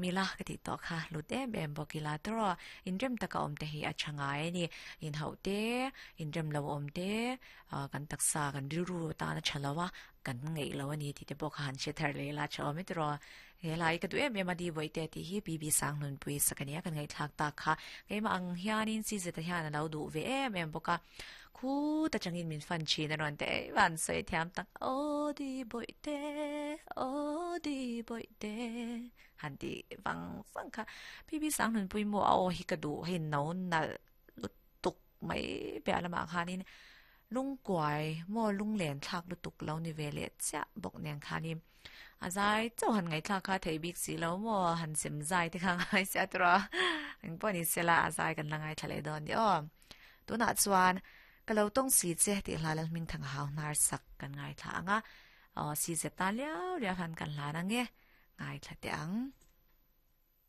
Mila ka tih tawh kha lut em em bawk ila tawrh inrem taka awm te hi a tha ngai a ni. Inhauh te, inrem lo awm te, kan taksa kan rilru tan a tha lo a, kan ngeih lo a ni tih te pawh kha han hre thar leh ila tha awm e tawrh. He lai ka duh em em a di Bawihte tih hi BB Sangnunpui sak a nia kan ngaihthlak tak kha. Keimah ang hianin CZ-a hian a lo duh ve em em bawk a. Khut atangin min fan thin a rawn ti ei van sawi thiam tak aw di Bawihte aw di Bawihte han ti vang vang kha. BB Sangnunpui maw a aw hi ka duh hei no nalh lutuk mai piah lamah khanin lungkuai maw lunglen thlak lutuk lo ni ve leh chiah bawk nen khanin A zai chauh han ngaihthlak kha theih bik si lo maw? Han sem zai te kha ngai sia tur a. Engpawh ni sela a zai kan la ngaithla leh dawn ni aw. Tunah chuan ka lo tawng si che tih hla Lalhming Thanga hau hnar sak kan ngaithla ang a. Aw si zet tan liau liau han kan hlan ang e. Ngaithla teh ang.